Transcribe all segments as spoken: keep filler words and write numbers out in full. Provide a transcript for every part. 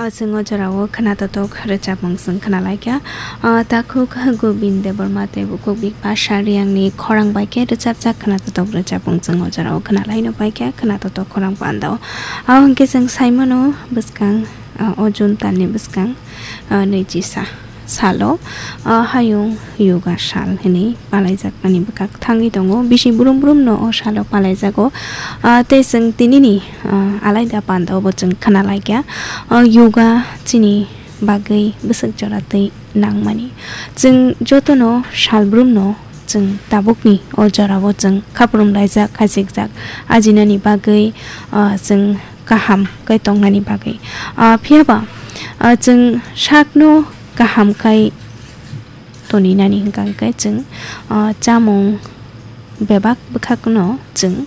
Chwng o jorao khwnatotok rwchapmung chwng khwnalaikha. Ah, takhuk Gobind Debbarma tei bukhuk Bipasha Riyangni khorang bai khe rwchapjak khwnatotok rwchapmung chwng o jorao khwnalaino paikha khwnatotok khorang pandao. Abo hwnkhe chwng saimano bwskang, ah, o June talni bwskang, ah, nwichi sa. Salo, ah, hayung yoga sal hinwi palaijakmani bwkak thangwi tongo. Bisi brum brum no o salo palaijago. Ah, tei chwng tinini, ah, alaida panda obo chwng khwnalaikha. Ah, yoga chini bagwi bwswk jora twi nangmani. Chwng jotono sal brum no chwng tabukni o jorao chwng khaprum laijak, khachikjak ajinani bagwi, ah, chwng kaham khe tongnani bagwi. Ah, phiyaba, ah, chwng sakno kaham khai toninani hwnkha hwnkhe chwng, ah, chamung bebak bwkhakno chwng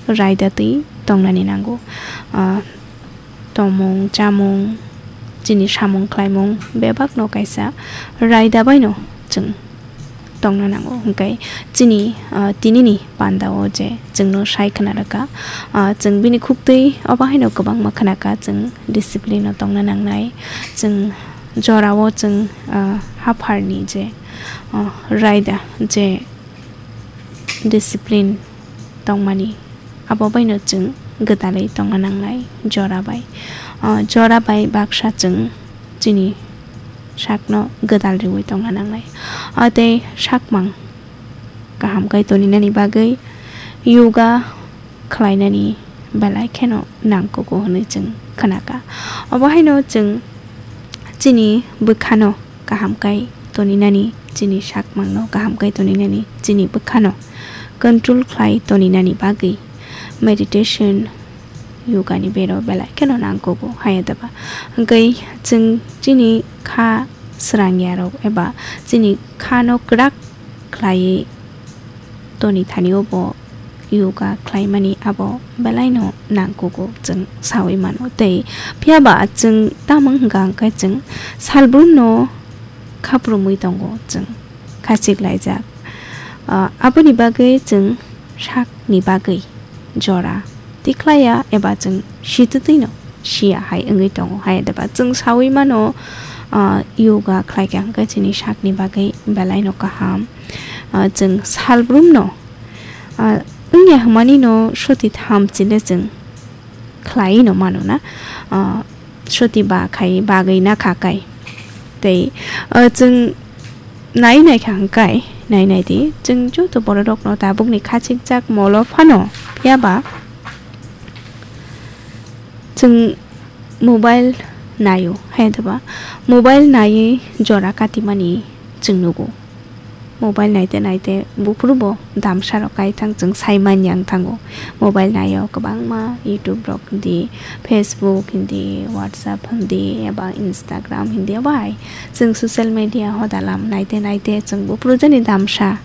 raida twi tongnani nango. Ah, tomung, chamung, chini samung khlaimung bebakno kaisa raida baino chwng tongna nango. Hwnkhe chini, ah, tinini pandao je chwngno sai khna rwkha, ah, chwng bini khuktwi obo haino kwbangma khna kha, chwng discipline-o tongna nangnai, chwng jorao chwng, ah, hapharni je, ah, raida je discipline tongmani, abo baino chwng gwdalwi tongna nangnai jora bai. Ah, jora bai baksa chwng chini sakno gwdal riwi tongna nangnai. Ah, tei sakmang kaham khai toninani bagwi yoga khlainani belai kheno nangkugo hwnwi chwng khna kha. Obo haino chwng chini bwkhano kaham khai toninani, chini sakmangno kaham khai toninani, chini bwkhano control khlai toninani bagwi meditation, yoga ni bero belai kheno nangkugo, haya daba. Hwnkhe chwng chini kha srangyarok eba chini khano kwrak khlaiwi toni thani obo yoga khlaimani abo belaino nangkugo chwng sawi mano. Tei phiyaba chwng tamo hwnkha hwnkhe chwng salbrumno khaprumwi tongo chwng khachik laijak. Ah, aboni bagwi chwng sakni bagwi jora tikhlaiya eba chwng situtwino siya hai wngwi tongo. Hai deba chwng sawi mano, ah, yoga khlaikha hwnkhe chini sakni bagwi belaino kaham. Ah, chwng salbrumno, ah, wngya hwnmanino soti tham chile chwng khlai no mano na, ah, soti ba khai bagwi na kha kai. Tei, ah, chwng nai nai kha hwnkhe, nai nai di, chwng joto borok rokno tabukni khachikjak molo phano, phiyaba chwng mobile naio, hai deba mobile naiwi jora katimani chwng nugo. Mobile naite naite buphuru bo damsa rok kai thang chwng sai manya wng thango. Mobile naio kwbangma YouTube rok hindi, Facebook hindi, WhatsApp hindi, eba Instagram hindi, eba hai chwng social media hodalam naite naite chwng buphuru jani damsa